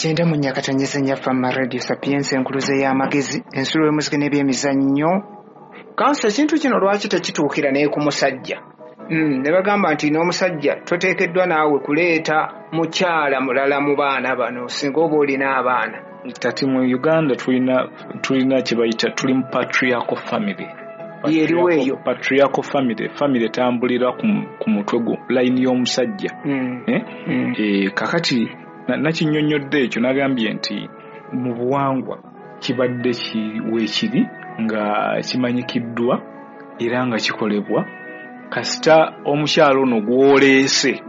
94.4 FM Radio Sapienza, enkuluze y'amagezi, ensulo y'omuziki n'ebyemizannyo. Kansa, ekintu kino lwaki tekituukira naye ku musajja? Ne bagamba nti n'omusajja toteekeddwa naawe kuleeta mukyala mulala mu baana bano singa oba olina abaana. Kati mu Uganda tulina kye bayita, tuli mu patriarchal family. Yeriwo eyo. Patriarchal family etambulira ku mutwe gwo layini y'omusajja. Kakati nakinnyonnyodde ekyo, nagambye nti mu buwangwa kibadde weekiri nga kimanyikiddwa era nga kikolebwa. Kasita omukyalo ono gw'oleese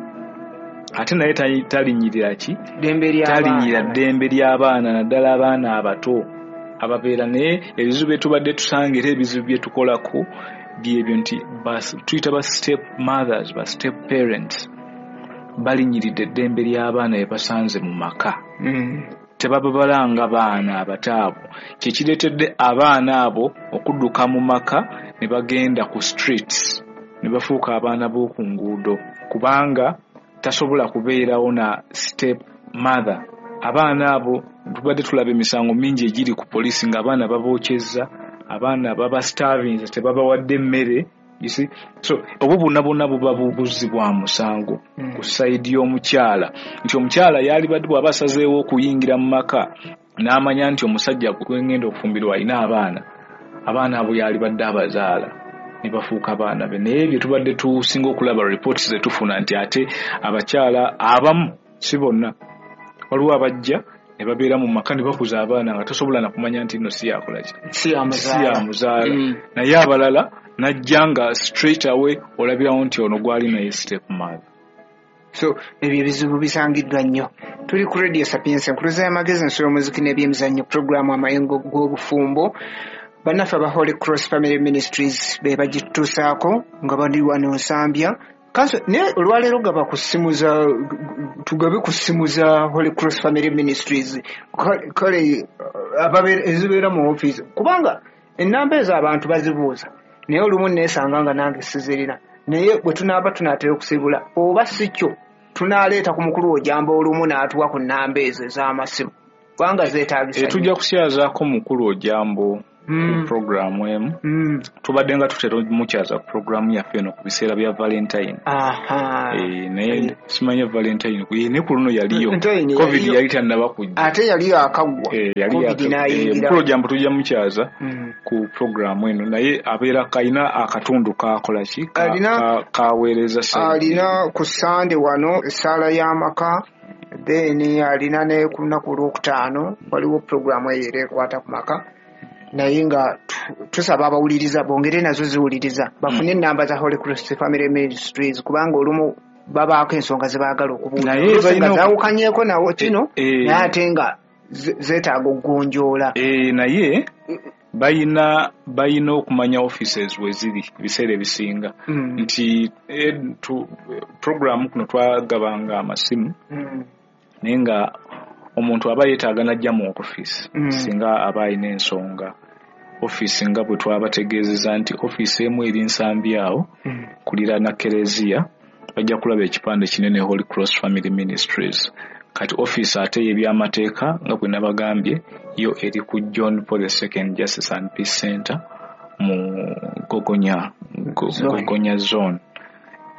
ate naye talinnyirira ki? Talinnyirira ddembe ly'abaana, naddala abaana abato ababeera. Naye ebizibu bye tubadde tusanga era ebizibu bye tukolako byebyo nti tuyita ba step mothers, ba step parents, balinnyiridde eddembe ly'abaana bye basanze mu maka. Tebababalanga baana abato abo, kyekireetedde abaana abo okudduka mu maka ne bagenda ku streets ne bafuuka abaana b'oku nguudo, kubanga tasobola kubeerawo na step mother. Abaana abo tubadde tulaba emisango mingi egiri ku poliisi ng'abaana babookyezza, abaana babastarvinze, tebabawadde emmere. You see? So obwo bwonna bwonna buba bubuzi bwa musango ku side y'omukyala, nti omukyala yalibadde bw'aba asazeewo okuyingira mu maka n'amanya nti omusajja gwengenda okufumbirwa alina abaana, abaana abo yalibadde abazaala ne bafuuka abaana be. Naye bye tubadde tusinga okulaba reports ze tufuna nti ate abakyala abamu, si bonna, waliwo abajja ne babeera mu maka ne bakuza abaana nga tosobola na kumanya nti nno si yakola ki, si yamuzaala. Naye abalala najja nga straight away olabirawo nti ono gwali naye step mother. So ebyo ebizibu bisangiddwa nnyo. Tuli ku Radio Sapienza, enkuluze y'amagezi, ensulo y'omuziki n'ebyemizannyo, puroguramu Amayengo g'Obufumbo. Bannaffe aba Holy Cross Family Ministries be bagituusaako nga bali wano Nsambya. Kanso, naye olwaleero gaba ku ssimu za, tugabe ku ssimu za Holy Cross Family Ministries, kale ezibeera mu ofiisi, kubanga ennamba ezo abantu bazibuuza, naye olumu neesanga nga nange sizirina. Naye bwe tunaaba tunaatera okusiibula, oba si kyo, tunaaleeta ku mukulu Ojambo olumu n'atuwa ku nnamba ezo ez'amasimu, kubanga zeetaagisa. Tujja kusyazaako mukulu Ojambo ku programu emu. Tubadde nga tutera mukyaza ku programu yaffe eno ku biseera bya Valentine. Naye simanya Valentine naye ku luno yaliyo COVID yali tannaba kujja, ate yaliyo akaggwa COVID n'ayingira. Mukulu Ojambo tujja mukyaza ku programu eno, naye abeera kalina akatundu kakola ki, kaweereza. Alina ku Sande wano essaala y'amaka, then alina ne ku lunaku olwokutaano waliwo programu eyo era ekwata ku maka. Naye nga tusaba abawuliriza bongere nazo ziwuliriza bafune ennamba za Holy Cross Family Ministries, kubanga olumu babaako ensonga ze baagala okubuuza nga zaawukanyeeko nawo kino, naye ate nga zeetaaga okugonjoola. Naye balina okumanya offices we ziri ebiseera ebisinga, nti programu kuno twagabanga amasimu, naye nga omuntu aba yeetaaga n'ajja mu ofiisi singa aba alina ensonga. Ofiisi nga bwe twabategeezeza nti ofiisi emu eri Nsambi awo kuliraana Kereziya, bajja kulaba ekipande kinene Holy Cross Family Ministries. Kati ofiisi ate y'ebyamateeka nga bwe nabagambye yo eri ku John Paul II Justice and Peace Center mu Gogonya Zone.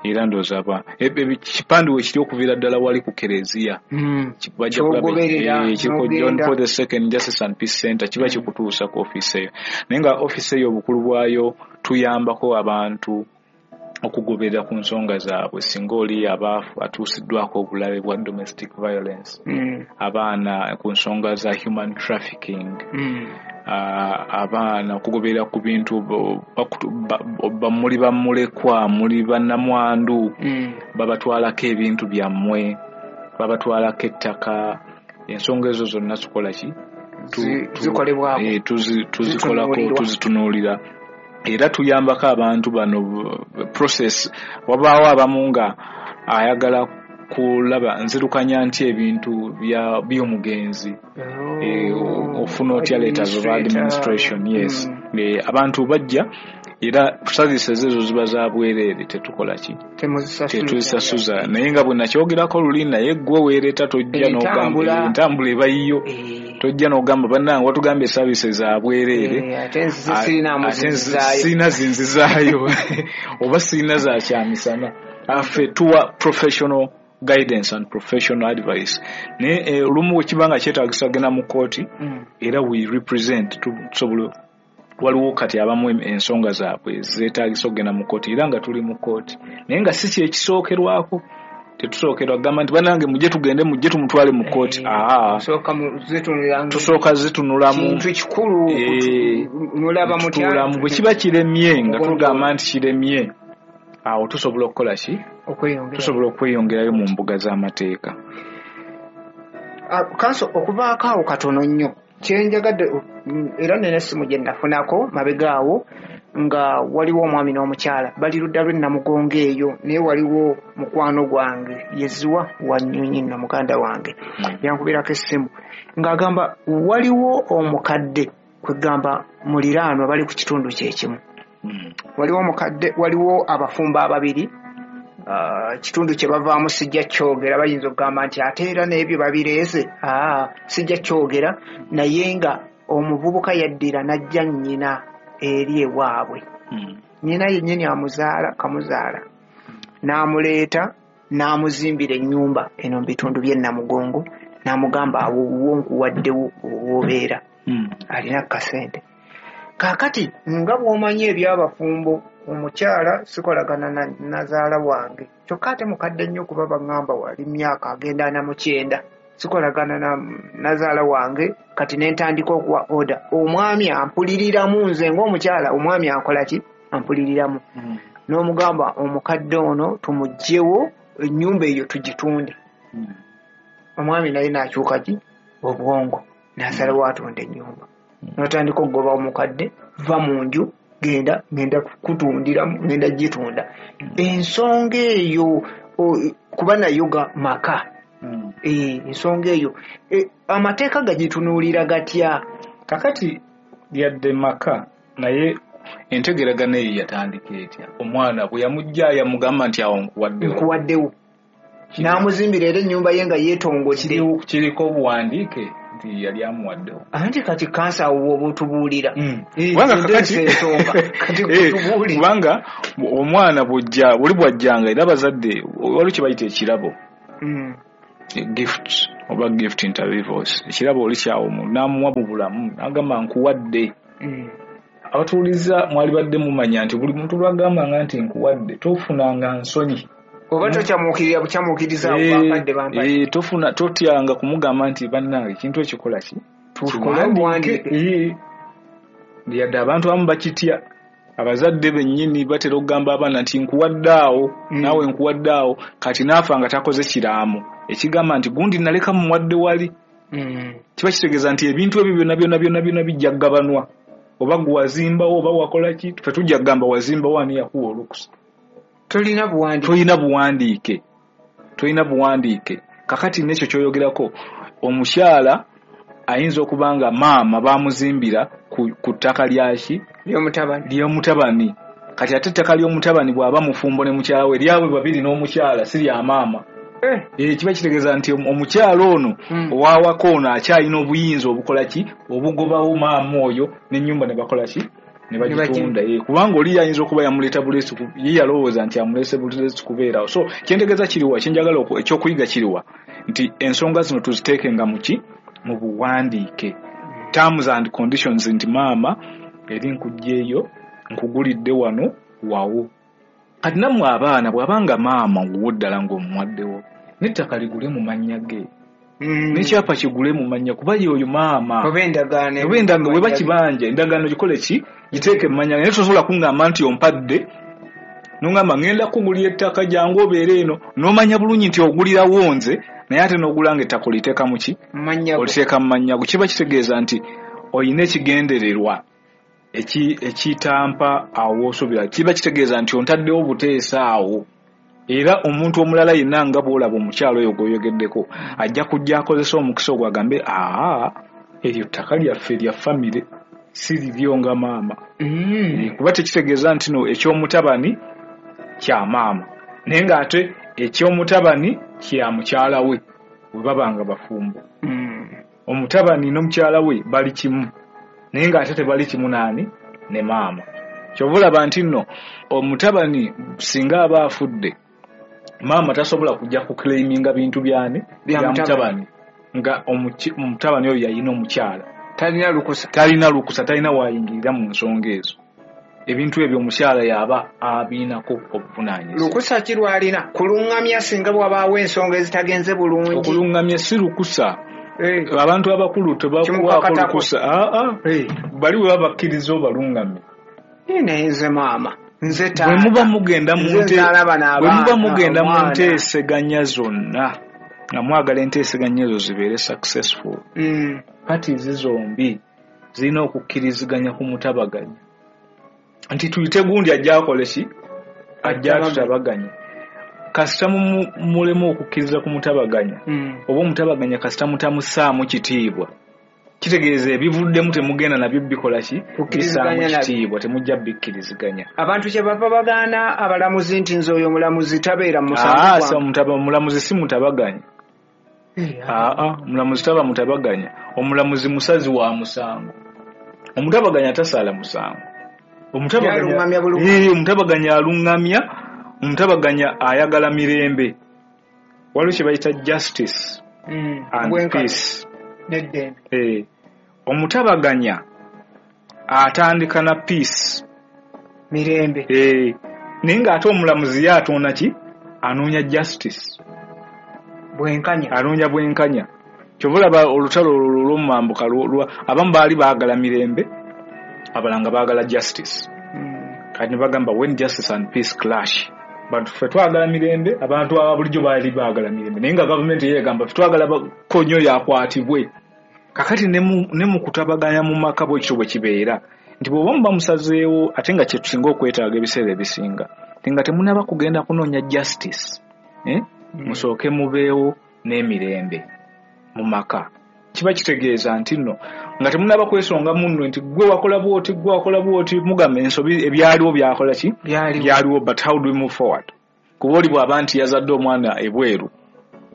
Era ndowooza ekipande we kiri okuviira ddala wali ku Kereziya, kiriko John Paul II Justice and Peace Center, kiba kikutuusa ku ofiisi eyo. Naye nga ofiisi eyo obukulu bwayo tuyambako abantu okugoberera ku nsonga zaabwe singa oli aba atuusiddwako obulabe bwa domestic violence, abaana ku nsonga za human trafficking, abaana okugoberera ku bintu muli bamulekwa, muli bannamwandu, babatwalako ebintu byammwe, babatwalako ettaka, ensonga ezo zonna tukola ki, tuzikolako, tuzitunuulira. Era tuyambako abantu bano process. Wabaawo abamu nga ayagala kulaba nzirukanya nti ebintu by'omugenzi, ofuna otya letters of administration. Yes, abantu bajja Era services ezo ziba za bwereere, tetukola ki, tetuzisasuza. Naye nga bwe nakyogerako luli, naye gwe weereeta tojja n'ogamba entambula eba yiyo, tojja n'ogamba bannange watugambye services za bwereere, ate sirina zinzizaayo oba sirina za kyamisana. Affe tuwa professional guidance and professional advice. Naye olumu bwe kiba nga kyetaagisa genda mu kkooti, era we represent, tusobola. Waliwo kati abamu ensonga zaabwe zeetaagisa okugenda mu kkooti, era nga tuli mu kkooti, naye nga si kyekisookerwako. Tetusookerwa kugamba nti bannange mujje tugende, mujje tumutwale mu kkooti. Tusooka zitunulamu kintu kikulu, mulaba mutya. Bwe kiba kiremye, nga tugamba nti kiremye, awo tusobola okukola ki, tusobola okweyongerayo mu mbuga z'amateeka. Kanso okuvaako awo katono nnyo, kyenjagadde era nina essimu gye nafunako mabega awo, nga waliwo omwami n'omukyala bali ludda lw'e Namugongo eyo, naye waliwo mukwano gwange yeziwa Wanyonyi nno muganda wange, yankubirako essimu ng'agamba waliwo omukadde, kwegamba muliraanwa, bali ku kitundu kyekimu, waliwo omukadde, waliwo abafumbo ababiri, kitundu kye bavaamu sijja kyogera, bayinza okugamba nti ate era n'ebyo babireese, sijja kyogera. Naye nga omuvubuka yaddira n'ajja nnyina eri ewaabwe, nnyina yennyini amuzaala kamuzaala, n'amuleeta n'amuzimbira ennyumba eno mu bitundu by'e Namugongo, n'amugamba awo wo nkuwaddewo w'obeera, alina kasente. Kaakati nga bw'omanyi eby'abafumbo, omukyala sikolagana nazaala wange, kyokka ate mukadde nnyo kuba baŋŋamba wali myaka agenda 49, sikolagana nazaala wange. Kati ne ntandika okuwa order, omwami ampuliriramu, nze ng'omukyala omwami ankola ki, ampuliriramu, n'omugamba omukadde ono tumuggyewo, ennyumba eyo tugitunde. Omwami naye n'akyuka ki obwongo, n'asalawo atunda ennyumba. N'otandika okugoba omukadde, va mu nju, genda ngenda kutundiramu, ngenda gitunda. Ensonga eyo kuba nayo ga maka, ensonga eyo amateeka gagitunuulira gatya? Kakati yadde maka, naye entegeragano eyo yatandika etya? Omwana bwe yamujja yamugamba nti awo nkuwaddewo, nkuwaddewo, n'amuzimbira era ennyumba ye nga yeetongodde. Kiriko obuwandiike nti yali amuwaddewo? Anti kati kansa awo oba otubuulira kubanga omwana bw'ojja oli bw'ajjanga, era abazadde waliwo kye bayita ekirabo, gift oba gift inter vivos. Ekirabo oli kyawo omuntu n'amuwa mu bulamu n'agamba nkuwadde. Abatuuliza mwali badde mumanya nti buli muntu lwagambanga nti nkuwadde, tofunanga nsonyi oba tokyamuukirira bukyamuukiriza bampadde bampadde. Tofuna totyanga kumugamba nti bannange ekintu ekikola ki, tukiwandiike. Yadde abantu abamu bakitya, abazadde bennyini batera okugamba abaana nti nkuwadde awo, naawe nkuwadde awo. Kati naafa nga takoze kiraamo ekigamba nti gundi naleka muwadde wali, kiba kitegeeza nti ebintu ebyo byonna byonna byonna byonna bijja kugabanwa, oba gwe wazimbawo oba wakola ki, ffe tujja kugamba wazimbawo ani yakuwa olukusa. Tolina buwandiike, tolina buwandiike, tolina buwandiike. Kakati n'ekyo ky'oyogerako, omukyala ayinza okuba nga maama bamuzimbira ku ttaka lyaki, ly'omutabani. Kati ate ettaka ly'omutabani bw'aba mufumbo ne mukyala we, lyabwe babiri n'omukyala, si lya maama. Kiba kitegeeza nti omukyala ono owawaka ono akyalina obuyinza obukola ki, obugobawo maama oyo n'ennyumba ne bakola ki, ne bagitunda. Kubanga oli ayinza okuba yamuleeta buleesi, ye yalowooza nti amuleese buleesi kubeerawo. So kyentegeeza kiriwa, kyenjagala ekyokuyiga kiriwa, nti ensonga zino tuziteekenga mu ki, mu buwandiike, terms and conditions, nti maama eri nkugyeyo nkugulidde wano wawo. Kati nammwe abaana bw'abanga maama wuwo ddala ng'omuwaddewo, n'ettaka ligule mu mannya ge, n'ekyapa kigule mu mannya, kuba ye oyo maama oba endagaano weba kibanja, endagaano gikole ki, giteeke mu mannya ge. Naye tosobola kungamba nti ompadde, n'ongamba ngenda kugulira ettaka jangu obeere eno, n'omanya bulungi nti ogulirawo nze, naye ate n'ogulanga ettaka oliteeka mu ki, oliteeka mu mannya go. Kiba kitegeeza nti olina ekigendererwa ekitampa awo osuubira, kiba kitegeeza nti ontaddewo buteesa awo. Era omuntu omulala yenna nga bw'olaba omukyalo oyo gw'oyogeddeko ajja kujja akozesa omukisa ogwo agambe, aa eryo ttaka lyaffe lya famire, Si liryo nga maama. Kuba tekitegeeza nti no ekyomutabani kya maama, naye ng'ate ekyomutabani kya mukyala we bwe baba nga bafumbo. Omutabani n'omukyala we bali kimu, naye ng'ate tebali kimu naani ne maama. Kyova olaba nti nno omutabani singa aba afudde, maama tasobola kujja kuclaiminga bintu byani bya mutabani, nga omutabani oyo yalina omukyala. Talina lukusa, talina lukusa, talina wayingirira mu nsonga ezo. Ebintu ebyo omukyala yaba abiinako obuvunaanyizibwa. Lukusa ki lw'alina? Kulungamya singa bw'abaawo ensonga ezitagenze bulungi. Okulungamya si lukusa. Abantu abakulu tebakuwaako lukusa. Bali bwe babakkiriza obalungamye. Naye nze maama, nze taata. Bwe muba mugenda mu nteeseganya zonna, nga mwagala enteeseganya ezo zibeere successful, parties zombi zirina okukkiriziganya ku mutabaganya. Nti tuyite gundi ajja akole ki? Ajja tutabaganya. Kasita mulemu okukkiriza ku mutabaganya, oba omutabaganya kasita mutamussaamu kitiibwa, kitegeeza ebivuddemu temugenda nabyo bikola ki? Bissaamu kitiibwa, temujja bikkiriziganya. Abantu kye bava bagaana abalamuzi nti nze oyo omulamuzi tabeera mu musango gwange. Omulamuzi si mutabaganya. Omulamuzi taba mutabaganya. Omulamuzi musazi wa musango. Omutabaganya tasala musango. Omutabaganya alungamya, omutabaganya ayagala mirembe. Waliwo kye bayita justice and peace. Omutabaganya atandika na peace, mirembe. Naye ng'ate omulamuzi ye atoona ki? Anoonya justice, bwenkanya. Anoonya bwenkanya. Kyova olaba olutalo olw'omumambuka abamu baali baagala mirembe, abalala nga baagala justice. Kati ne bagamba when justice and peace clash, bantu ffe twagala mirembe, abantu aba bulijjo baali baagala mirembe, naye nga gavumenti ye egamba ffe twagala konyo yakwatibwe. Kakati ne mu kutabaganya mu maka bwe kityo bwe kibeera, nti bw'oba muba musazeewo, ate nga kye tusinga okwetaaga ebiseera ebisinga, nti nga temunnaba kugenda kunoonya justice, musooke mubeewo n'emirembe mu maka. Kiba kitegeeza nti nno nga temunnaba kwesonga munno nti gwe wakola bw'oti, gwe wakola bw'oti, mugamba ensobi ebyaliwo byakola ki? Byaliwo, but how do we move forward? Kuba oli bw'aba nti yazadde omwana ebweru,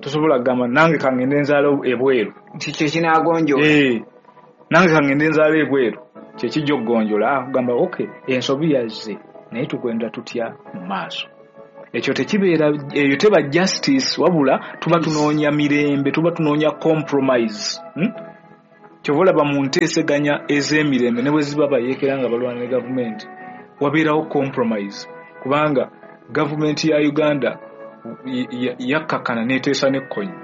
tosobola kugamba nange kangende nzaala ebweru nti kye kinaagonjoola. Nange kangende nzaala ebweru kye kijja okugonjoola. Kugamba okay, ensobi yazze, naye tugenda tutya mu maaso? Ekyo tekibeera, eyo teba justice, wabula tuba tunoonya mirembe, tuba tunoonya compromise. Kyova olaba mu nteeseganya ez'emirembe ne bwe ziba bayeekera nga balwana ne gavumenti, wabeerawo compromise, kubanga gavumenti ya Uganda yakkakkana n'eteesa n'ekkonyi.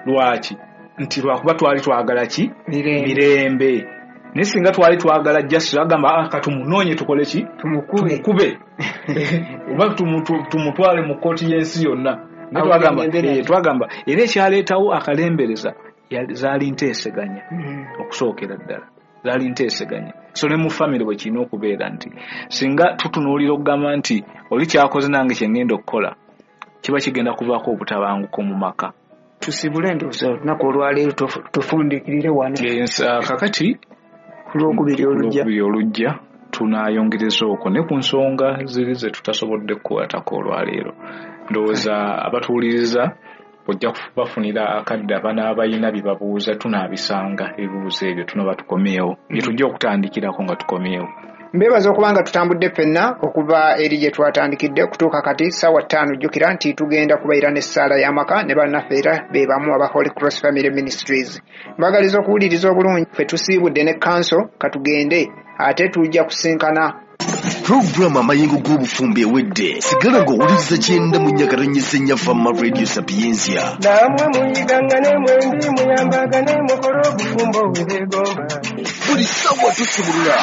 Lwaki? Nti lwakuba twali twagala ki? Mirembe. Naye singa twali twagala justice, agamba katumunoonye tukole ki? Tumukube. Oba tumutwale mu kkooti y'ensi yonna. Twagamba era ekyaleetawo akalembereza zaali nteeseganya okusookera ddala, zaali nteeseganya. So ne mu famire bwe kirina okubeera nti singa tutunuulira okugamba nti oli kyakoze nange kye ngenda okukola, kiba kigenda kuvaako obutabanguko mu maka. Tusibule ndowooza olunaku olwaleero tufundikirire wano. Kakati ku Lwokubiri olujja tunaayongereza okwo ne ku nsonga ziri ze tutasobodde kukwatako olwaleero. Ndowooza abatuwuliriza ojja kubafunira akadde abanaabalina bye babuuza, tunaabisanga ebibuuzo ebyo tunaba tukomyewo, bye tujja okutandikirako nga tukomyewo. Mbebaza okuba nga tutambudde ffenna okuva eri gye twatandikidde okutuuka kati ssaawa 5. Jjukira nti tugenda kubeera n'essaala y'amaka ne bannaffe era be bamu aba Holy Cross Family Ministries. Mbagaliza okuwuliriza obulungi. Ffe tusiibudde ne kanso, katugende ate tujja kusinkana. Puroguramu Amayengo g'Obufumbo ewedde. Sigala ng'owuliriza 94.4 Fama Radio Sapientia. Namwe muyigangane mwembi muyambagane mukole obufumbo bwe beegomba. Buli ssaawa tusibulula.